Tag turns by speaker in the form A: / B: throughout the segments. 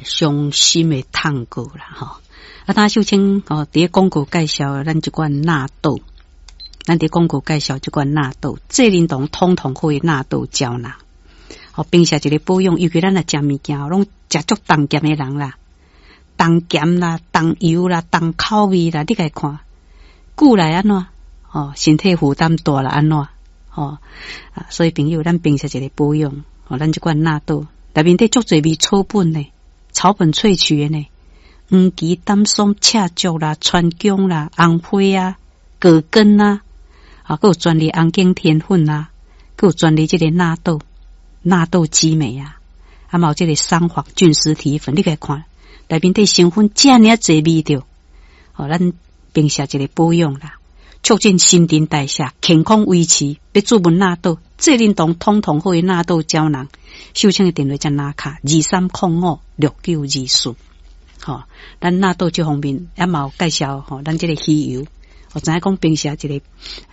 A: 傷心的探戈啦吼。啊，頭秀清哦，佇咧廣告介紹咱這款納豆，咱佇廣告介紹這款納豆，濟仁堂統統好的納豆膠囊。哦，平時一个保養，尤其咱若食物件，攏食足重鹹的人啦，重鹹啦、重油啦、重口味啦，你共伊看，久來按怎？哦，身體負擔大啦，按怎？哦，啊，所以朋友，咱平時一个保養，哦，咱這款納豆內面底足濟味草本呢，草本萃取的呢，黃芪、丹參、赤石啦、川芎啦、紅花啊、葛根啊，啊，閣有專利紅景天粉啊，閣有專利這个納豆。納豆激酶啊，啊嘛有這个桑黃菌絲體粉，你共伊看內面底成分遮爾濟味著，哦，咱平時一个保養啦，促進新陳代謝，健康維持。欲注文納豆，濟仁堂統統好的納豆膠囊，秀清的電話才拿卡23056924。吼，咱納豆這方面也嘛有介紹吼，咱這个魚油，我知影講平時一个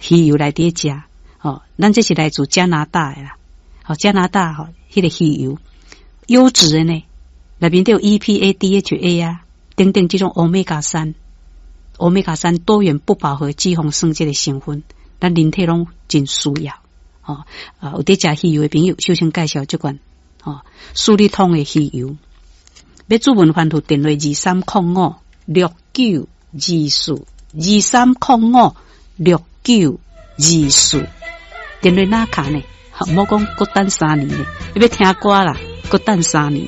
A: 魚油來佇咧食，吼，咱這是來自加拿大的啦。吼，加拿大吼，彼个魚油優質的呢，內面都有 EPA、DHA 啊，等等這種歐米伽三、歐米伽三多元不飽和脂肪酸這个成分，咱人體攏真需要。吼，啊，有佇食魚油的朋友，首先介紹這款吼，舒利通的魚油。欲諮問翻覆電話23056924，23056924，電話哪卡呢？莫講閣等三年呢，欲聽歌啦，閣等三年。